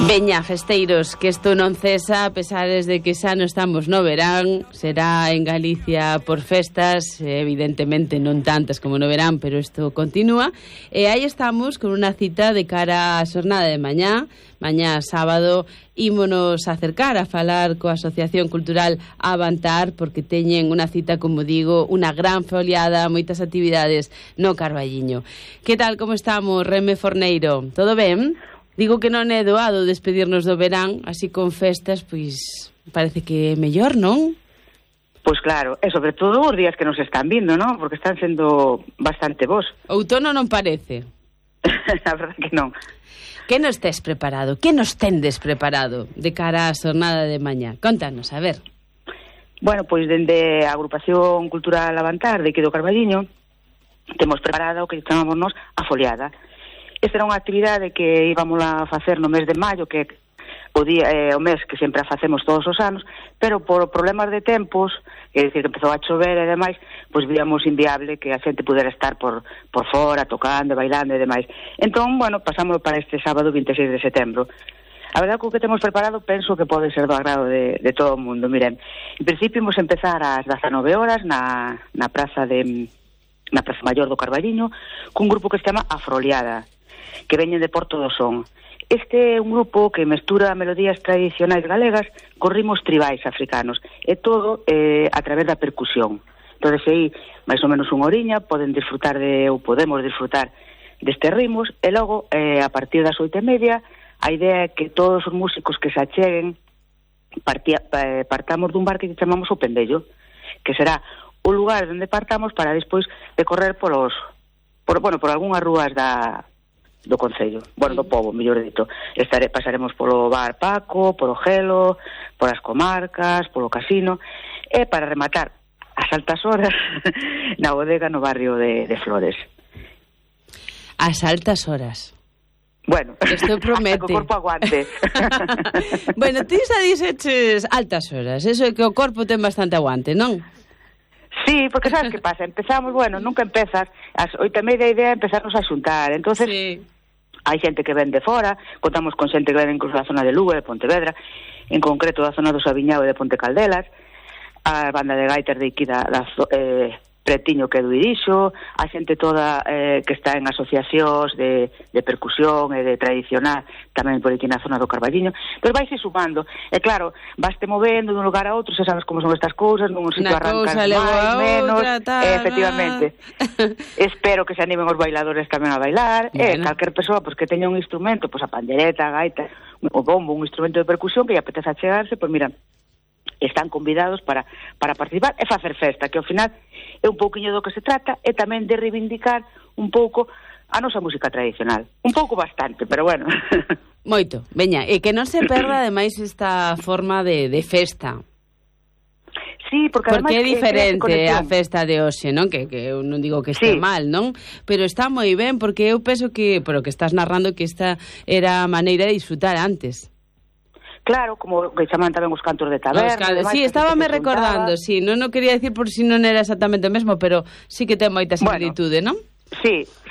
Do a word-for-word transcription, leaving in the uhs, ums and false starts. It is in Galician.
Veña, festeiros, que isto non cesa a pesares de que xa non estamos no verán. Será en Galicia por festas, evidentemente non tantas como no verán, pero isto continúa. E aí estamos con unha cita de cara á xornada de mañá. Mañá sábado ímonos acercar a falar coa Asociación Cultural Avantar, porque teñen unha cita, como digo, unha gran foliada, moitas actividades no Carballiño. Que tal, como estamos, Reme Forneiro? Todo ben? Digo que non é doado despedirnos do verán, así con festas, pois parece que é mellor, non? Pois claro, e sobre todo os días que nos están vindo, non? Porque están sendo bastante bons. Outono non parece. A verdade que non. Que nos tes preparado? Que nos tendes preparado de cara á xornada de mañá? Contanos, a ver. Bueno, pois dende a Agrupación Cultural Avantar de aquí do Carballiño temos preparado o que chamamos nos a foliada. Esta era unha actividade que íbamos a facer no mes de maio, que o día eh, o mes que sempre a facemos todos os anos, pero por problemas de tempos, é dicir, que empezou a chover e demais, pois víamos inviable que a xente pudera estar por, por fora, tocando, bailando e demais. Entón, bueno, pasámoslo para este sábado vinte e seis de setembro. A verdade que o que temos preparado penso que pode ser do agrado de, de todo o mundo. Miren, en principio imos empezar ás dezanove horas na, na praza de na Praza Maior do Carballiño, cun grupo que se chama Afroliada, que veñen de Porto do Son. Este é un grupo que mestura melodías tradicionais galegas con ritmos tribais africanos, e todo eh, a través da percusión. Entón, aí, máis ou menos unha oriña, poden disfrutar de, ou podemos disfrutar destes ritmos, e logo, eh, a partir das oito e media, a idea é que todos os músicos que se acheguen partía, eh, partamos dun bar que chamamos o Pendello, que será o lugar onde partamos para despois decorrer polos, por, bueno, por algunhas rúas da do Concello, bueno, do pobo, mellor dito. Estare, pasaremos polo bar Paco, polo Gelo, polas comarcas, polo casino, e para rematar as altas horas na bodega no barrio de, de Flores. As altas horas. Bueno, isto promete. Hasta que o corpo aguante. Bueno, ti xa dixeches altas horas, eso é que o corpo ten bastante aguante, non? Sí, porque sabes que pasa, empezamos, bueno, nunca empezas, as oito e media a idea é empezarnos a xuntar, entonces sí. Hai xente que ven de fora, contamos con xente que ven incluso da zona de Lugo, de Pontevedra, en concreto da zona do Sabiñao e de Ponte Caldelas, a banda de gaitas de aquí da, da eh, Pretiño que é do Irixo, a xente toda eh, que está en asociacións de, de percusión e de tradicional, tamén por aquí na zona do Carballiño, pero vaise sumando, e claro, vaste movendo dun lugar a outro, se sabes como son estas cousas, nun sitio arrancas máis, menos, outra, e, efectivamente. Espero que se animen os bailadores tamén a bailar, bueno. E calquer persoa pues, que teña un instrumento, pues, a pandereta, a gaita, o bombo, un instrumento de percusión que lle apetece achegarse, pois pues, mira, están convidados para, para participar e facer festa, que ao final é un pouquiño do que se trata, e tamén de reivindicar un pouco a nosa música tradicional. Un pouco bastante, pero bueno. Moito, veña, e que non se perda ademais esta forma de, de festa. Sí, porque, porque é diferente a festa de hoxe, non? Que, que eu non digo que este sí. mal, non? Pero está moi ben, porque eu penso que, pero que estás narrando que esta era a maneira de disfrutar antes. Claro, como que chaman tamén os cantos de taberna. Can... Sí, estábame recordando, sí, non, non quería decir por si non era exactamente o mesmo, pero sí que ten moita similitude, bueno, non? Sí, sí.